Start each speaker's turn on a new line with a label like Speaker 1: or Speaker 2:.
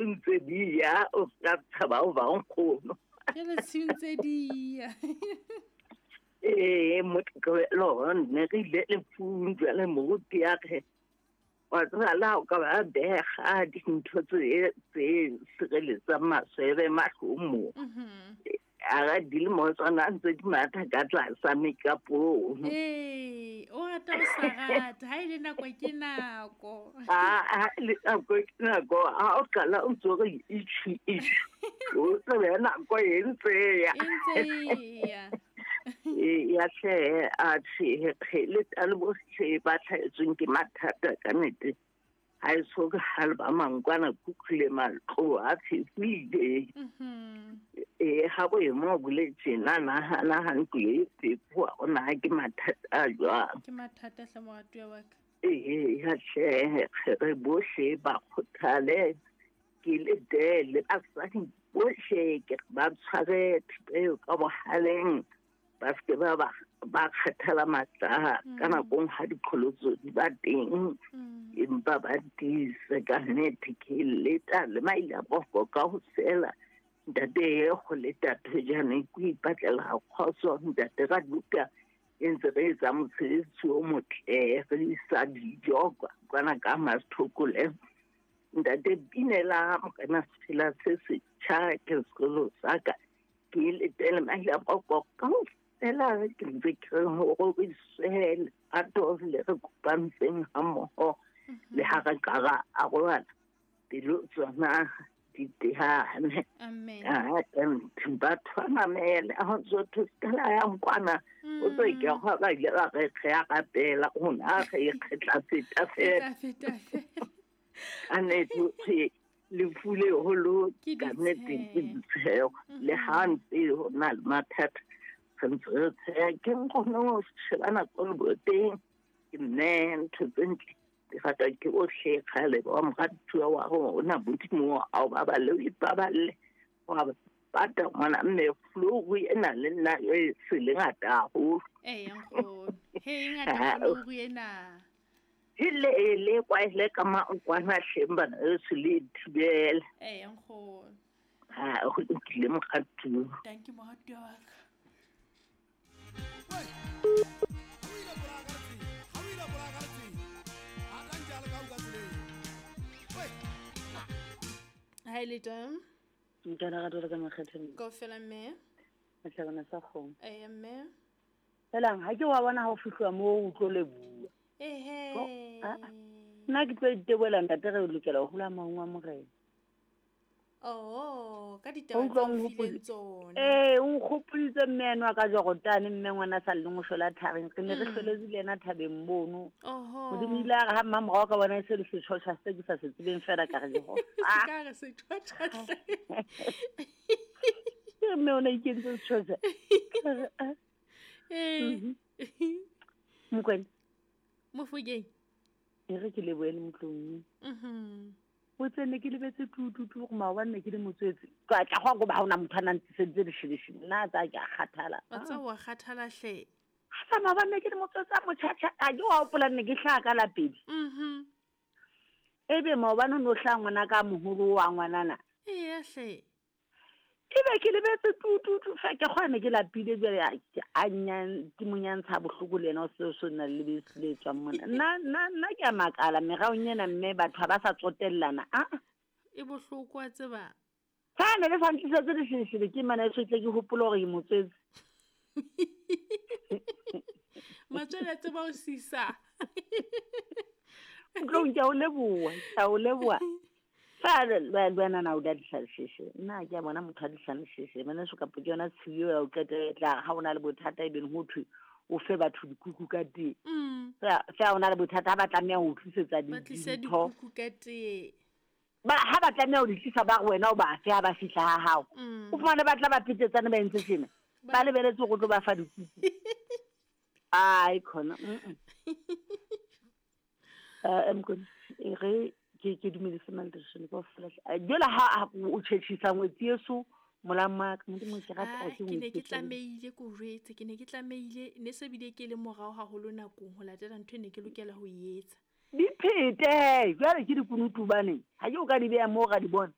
Speaker 1: Ntse di ya o ka tshaba o ba nkgono.
Speaker 2: Jale tshiu ntse di ya.
Speaker 1: Ee, motlokelo ne re ile lefung jwale moruti ya re wa tseba le ha o ka ba bega dintho tse tse sireletsang maswebe mahlong mo. A ga di le mo tsona ntse di matha ka tlasa mekapong.
Speaker 2: Ee, o rata o sa rata, ha e le nako ke nako.
Speaker 1: A le nako ke nako, ha o qala o ntso re itjhu itjhu, o tsebe nako e ntse ya.
Speaker 2: E ntse e ya.
Speaker 1: Ee, ya hle a tjhe le tale bohle ba tlhaetsweng ke mathata ka nnete. Ha e so ha le ba mangkwana khukhule matlo a phefile. Ee, ha boemo bo le tjena nahana ha ntlo e fefoha o na ke mathata a jwang.
Speaker 2: Ke mathata hle moratuwa wa ka.
Speaker 1: Ee, ya hle re bohle ba kgothale ke le dele basadi bohle ke ba tshware thipa eo ka bohaleng. Ba se ba ba ba kgathala matla ka nakong ha diqholotso di ba teng, empa ba tiise ka nnete ke leta le maile a boko ka ho fela ntate e go le tate jane ke ipatlela kgotso ntate ra duka e ntse re etsa mosebetsi o motle re isa dijo kwana ka masthokole ntate binela morena sefela se setjha ke sekolo sa ka ke letele maile a boko ka ho fela ke ntse ke re ho roriswe lerato le re kopantseng ha mmoho le ha re ka ra arohana pelo tsona di tehane.
Speaker 2: Amen.
Speaker 1: Batho ba mamele ha ntso thwe se ka la yang kwana o tlo ke go ba ile ba re re a rapela rona re ikgetla feta fela.
Speaker 2: Feta feta fela.
Speaker 1: Ka nnete lefu le holo
Speaker 2: Ke
Speaker 1: ka nnete ke
Speaker 2: ditsheho.
Speaker 1: ditsheho le ha ntse ho na le mathata re ntse re tsheha ke nkgone ho sheba nako le boteng ke nne ntho tse ntle di ratwa ke bohle kgale ba moratuwa wa rona Modimo a o baballe o ipaballe wa pata ngwana mme flouru ena le nna e se le ngata haholo.
Speaker 2: Ee, nkgono. He, e ngata flouru ena.
Speaker 1: Ile le kwa ile ka mankwana hleng bana e se le thibela.
Speaker 2: Ee, nkgono.
Speaker 1: Ha go lokile moratuwa.
Speaker 2: Thank you moratuwa wa ka. Hi Leta.
Speaker 3: Nka lerato le ka makgetheng.
Speaker 2: Kaofela mme.
Speaker 3: Mahlabana sa kgomo.
Speaker 2: Ee mme.
Speaker 3: Helang ha ke wa bona ha o fihluwa moo o tlo leboha.
Speaker 2: Ehe.
Speaker 3: Nna ke tlo iteboela ntate re lokela ho hula maung a morena.
Speaker 2: Oh, ka ditaba tse o fileng tsona.
Speaker 3: Ee, o nkgopoditse mme eno a ka Jorotane mme ngwana sa lleng o shwela thabeng. Re ne re hloletse le yena thabeng mono.
Speaker 2: Oho.
Speaker 3: Modimo ile a re ha mmamorao ka bona e se le setjhotjha se ke sa se tsebeng fela ka re Jehova.
Speaker 2: Se ka re setjhotjha hle.
Speaker 3: Ke re mme o ne a ikentse setjhotjha. Ka re, ah.
Speaker 2: Ee.
Speaker 3: Mokwena.
Speaker 2: Mofokeng.
Speaker 3: E re ke lebohe le motlong. O tsene ke lebetse tu tu tu gore maobane ne ke le motswetse. Ka tla go ba ha ona motho a nang tliseditse lesheleshele. Nna tsa ke a kgathala.
Speaker 2: Wa tseba wa kgathala hle.
Speaker 3: Ha sa maobane ne ke le motswetse a motjhatjha, a ke wa hopola ne ke hlaha ka lapedi. Ebe maobane o no hlaha ngwana ka moholo wa ngwanana.
Speaker 2: Eya hle.
Speaker 3: Ebe ke lebetse tu tu tu fa ke kgona ne ke lapile jwale a nyan ke mo nyantsha bohloko le yena o se o na le lebese le tswang mona. Nna nna nna ke a makala meraong ena mme batho ha ba sa tsotellana. A
Speaker 2: E bohloko wa tseba.
Speaker 3: Fa ne le sa ntlisetse lesheleshele ke mana e tle ke hopole hore ke motswetse.
Speaker 2: Matswele a tseba ho sisa.
Speaker 3: Ntlong ke a o leboha, ke a o leboha. Fa le wena na o da dihlasheshe. Nna ke a bona motho a dihlasheshe. Bana so kapo ke yona tshiyo ya o qetela tla ha ona le bothata e beng ho thwe o fe batho dikuku ka tee. Fa ona le bothata ha ba tlameha ho tlisetsa
Speaker 2: Ba tlise
Speaker 3: dintho.
Speaker 2: dikuku ka tee.
Speaker 3: Ba ha ba tlameha ho di tlisa ba re wena o ba fe ha ba fihla ha hao. O fumane ba tla ba petetsane ba entse tjena. Ba lebeletse hore o tlo ba fa dikuku. Ai khona. Mkhona, e re ke dumedise Malteshane kaofela. Jwale ha o tjhetjhisa ngwetsi yeso molama ka Modimo ke rata
Speaker 2: Ah,
Speaker 3: ke
Speaker 2: ke ne ke
Speaker 3: ngwetsi.
Speaker 2: tlamehile ke o jwetse, ke ne ke tlamehile ne se bile ke le morao haholo nakong ho latela ntho e ne ke lokela ho e etsa.
Speaker 3: Di phete, jwale ke dikunutu bane. Ha ke o ka di beha moo ra di bona.